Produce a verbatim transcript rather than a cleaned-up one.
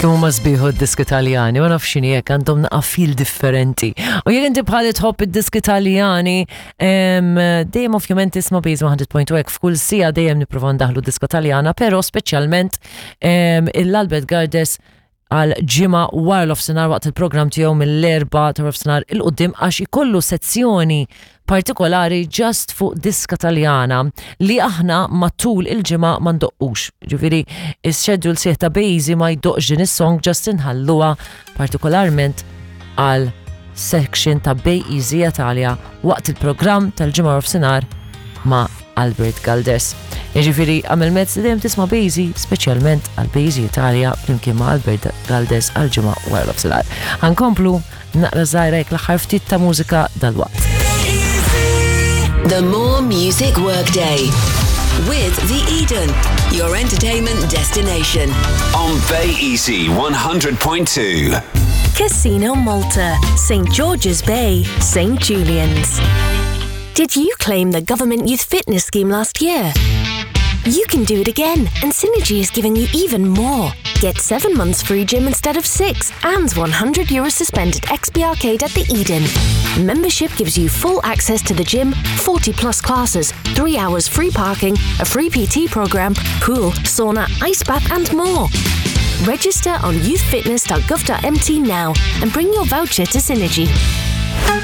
Kemm huma sbieħ id-diski Taljani, ma nafx x'inhi hekk għandhom naqa feel differenti. U jekk inti bħali tħobb id-diski Taljani, em, dejjem ovvjament tisma' Base one hundred point two hekk f'kull siegħa dejjem nipprova ndaħlu diska Taljana, però speċjalment em, il-Albert Gardes għal ġimgħa wara nofsinhar waqt il-programm tiegħu mill-erbgħa ta' nofsinhar 'il quddiem, għax ikollu sezzjoni partikolari just fuq diska Taljana li aħna matul il-ġimgħa ma ndoqqux. Ġifieri, is-schedule sieħ ta' Bejzi ma jdoqqx din is-song, just inħalluha partikolarment għal section ta' Bay Easy Italia waqt il-programm tal-ġimgħa nofsinhar ma' Albert Galdes. Jiġifieri għamel mezz li dejjem tisma' Bejzi, speċjalment għal Bejzi Italia flimkien ma' Albert Galdes għal ġimgħa wara nofsinhar. Ħa nkomplu naqra żgħira jekk l-aħħar ftit ta' mużika dal-waqt. The More Music Workday with The Eden, your entertainment destination. On Bay Easy one hundred point two. Casino Malta, Saint George's Bay, Saint Julian's. Did you claim the government youth fitness scheme last year? You can do it again, and Synergy is giving you even more. Get seven months free gym instead of six, and one hundred euro suspended X B Arcade at the Eden. Membership gives you full access to the gym, forty plus classes, three hours free parking, a free P T program, pool, sauna, ice bath, and more. Register on youthfitness dot gov dot M T now and bring your voucher to Synergy.